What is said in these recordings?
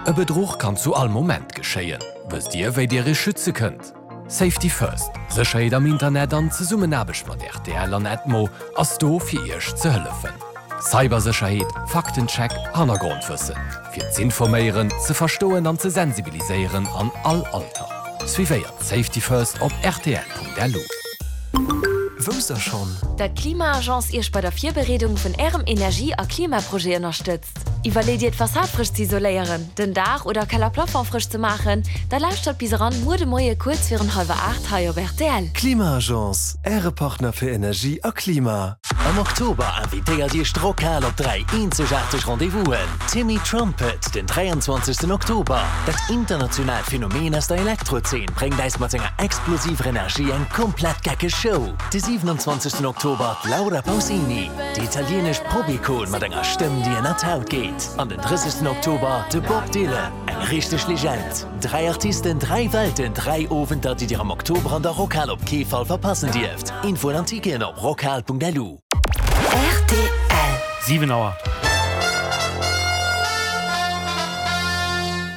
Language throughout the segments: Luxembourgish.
E Bedruch kann zu all Moment geschéien. Wësst Dir, wéi Dir Iech schütze kënnt? Safety First, Sécherheet am Internet an Zesummenaarbecht mat rtl an Edmo ass do fir Iech ze hëllefen. Cybersécherheet, Faktencheck, Hannergrondwëssen, fir z'informéieren, ze verstoen an ze sensibiliséieren an all Alter. Suivéiert Safety First op rtl.lu. Wousst der schonn? Dat d'Klima-Agence Iech bei der Virbereedung vun Ärem Energie a Klimaprojet ënnerstëtzt. Iwwerleet Dir d'Fassad frësch ze isoléieren, den Daach oder Keller-Plafond frësch ze maachen? Da lauschtert bis eran muer de Moie kuerz virun hallwer 8 hei op rtl. Klima-Agence, Äre Partner fir Energie a Klima. Am Oktober invitéiert Iech d'Rockhal op 3 eenzegaarteg Rendez-vousen, Timmy Trumpet den 23 Oktober, Dat internationaalt Phänomen aus der Elektrozeen bréngt äis mat senger explosiver Energie eng komplett geckeg Show, de 27 Oktober d'Laura Pausini. Déi italienesch Pop-Ikon mat enger Stëmm, déi ënner d'Haut geet. An den 30 Oktober de Bob Dylan, eng richteg Legend. Dräi Artisten, dräi Welten, dräi Owenter, déi Dir am Oktober an der Rockhal op kee Fall verpassen dierft. Infoen an Ticketen op rockhal.lu. Rtl. 7 Auer.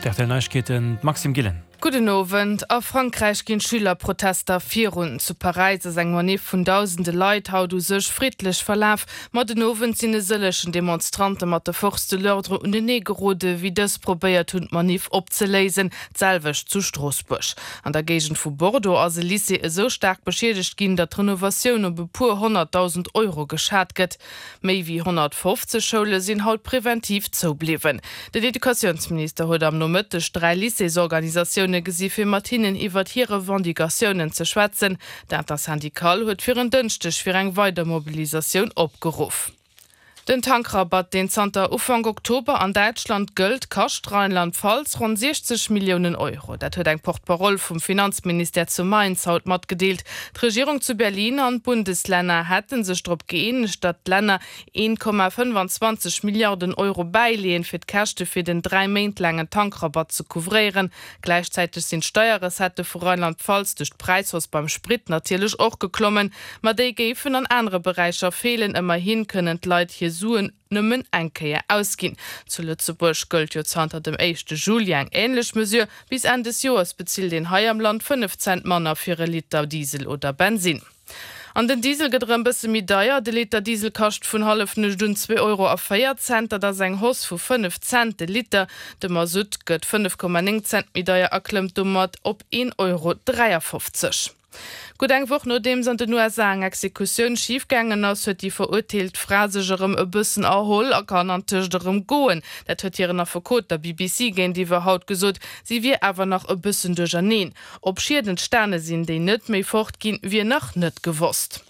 D'RTL Neiegkeeten, d'Maxime Gillen. Gudden Owend. A Frankräich ginn d'Schülerprotester virun. Zu Paräis ass eng Maniff vun dausende Leit haut u sech friddlech verlaf, ma den Owend sinn e sëllechen Demonstrante mat de Forces de l'ordre unenee gerode wéi dës probéiert hunn d'Maniff opzeléisen. D'selwecht zu Stroossbuerg. An der Géigend vu Bordeaux ass e Lycée esou staark beschiedegt ginn, datt d'Renovatioun op e puer 100.000 Euro geschat gëtt. Méi wéi 150 Schoule sinn haut preventiv zou bliwwen. Den Educatiounsminister huet am Nomëtteg 3 Lycéesorganisatioune gesi fir mat hinnen iwwert hir Revendicatiounen ze schwätzen. D'Intersyndicale huet fir en Dënschdeg fir eng weider Mobilisatioun opgeruff. Den Tankrabatt, deen zanter Ufank Oktober an Däitschland gëllt, kascht Rheinland-Pfalz ronn 60 Milliounen Euro. Dat huet eng Porte-parole vum Finanzministère zu Mainz haut matgedeelt. D'Regierung zu Berlin an d'Bundeslänner hätte sech drop gëeenegt, datt d'Länner 1,25 Milliarden Euro bäileeën, fir d'Käschte fir den 3 Méint laangen Tankrabatt ze couvréieren. Gläichzäiteg sinn d'Steierrecettë vu Rheinland-Pfalz duerch d'Präishausse beim Sprit natierlech och geklommen. Ma déi géifen an anere Beräicher feelen. Ëmmerhi kënnen d'Leit hir Suen nëmmen eng Kéier ausginn. Zu Lëtzebuerg gëllt jo zanter dem éischte Juli eng änlech Mesure. Bis Enn des Joers bezilt een hei am Land 5 Cent manner fir e Liter Diesel oder Bensinn. An den Diesel gëtt erëm bësse méi deier. De Liter Diesel kascht vun Hallefnuecht un 2 Euro a 4 Cent. Dat ass eng Hausse vu 5 Cent de Liter. De Masutt gëtt 5,9 Cent méi deier a klëmmt domat op 1,53 Euro. Gutt eng Woch nodeems an den USA eng Exekutioun schif gaangen ass, huet déi verurteelt Fra sech erëm e bëssen erholl a kann antëscht erëm goen. Dat huet hiren Affekot der BBC géintiwwer haut gesot. Si wier awer nach e bëssen duercherneen. Ob Schied entstane sinn, déi net méi fort ginn, wier nach net gewosst.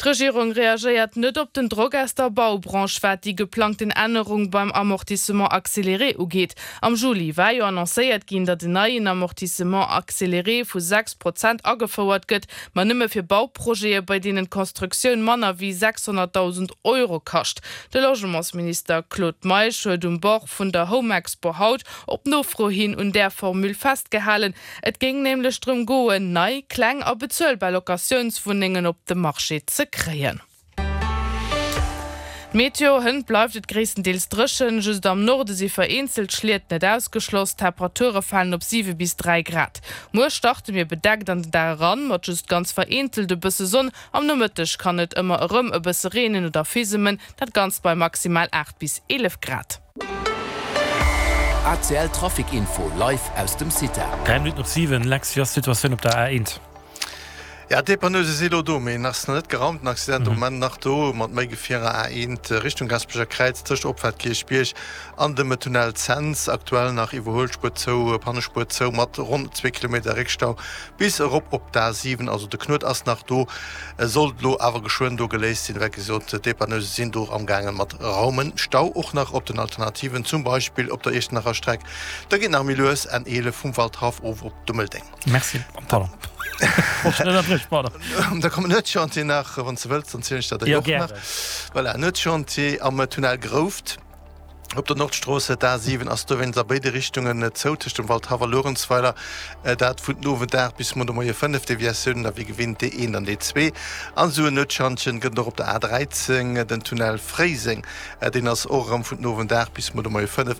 D'Regierung reagéiert net op den Drock aus der Baubranche, wat déi geplangten Ännerung beim Amortissement accéléré ugeet. Am Juli war jo annoncéiert ginn, datt en neien Amortissement accéléré vu 6 Prozent agefouert gëtt, ma nëmme fir Bauprojete, bei deenen d'Constructioun manner wéi 600.000 Euro kascht. De Logementsminister Claude Meisch huet um Bord vun der Home-Expo haut op Nofro hin un där Formule festgehalen, Et géing nämlech drëm goen, nei, kleng a bezuelbar Locatiounswunnengen op de Marché ze kréien. D'Meteo, Hënt bleift et gréisstendeels dréchen, just am Norde si vereenzelt Schliet net ausgeschloss. D'Temperature falen op 7 bis 3 Grad. Muer starte mir bedeckt an den Dag eran, mat just ganz vereenzelt e bësse Sonn. Am Nomëtteg kann et ëmmer erëm e bësse reenen oder fisemen, dat Ganzt bei maximal 8 bis 11 Grad. ACL Trafic Info live aus dem CITA. 3 Minutten op 7, Lex, wéi ass d'Situatioun op der A1? Ja, d'Dépanneuse si elo do, mee nach ass nach net geraumt. Den Accident um Moment nach do, mat méi Gefierer A1 Richtung Gaasperecher Kräiz tëscht Opfaart Kierchbierg an dem Tunnel Cents. Aktuell nach Iwwerhuelspuer zou, Pannespuer zou mat ronn zwee Kilometer Réckstau bis erop op d'A7. Also de Knuet ass nach do. Sollt elo awer geschwënn do geléist sinn. Wei gesot, d'Dépanneuse sinn do amgaangen mat raumen. Stau och nach op den Alternativen, zum Beispill op der Iechternacher Streck. Da geet nach méi lues N 11 vum Waldhaff of op Dummeldeng. Merci. Pardon. Wollt dech net ënnerbriechen, pardon. Da kommen Nuetschantier nach, wann s de wëlls, dann zielen ech der déi och nach. Voilà, Nuetschantier am Tunnel Grouft. Op der Nordstrooss, d'A7 ass dowéinst a béide Richtungen zou tëscht dem Waldhaff a Luerenzweiler, dat vun den Owend 8 bis muer de Moie 5. Deviatiounen da wéi gewinnt D1 an D2. An esou en Nuetschantjen gëtt et och op der A13, den Tunnel Fréiseng, deen ass och erëm vun den Owend 8 bis muer de Moie 5.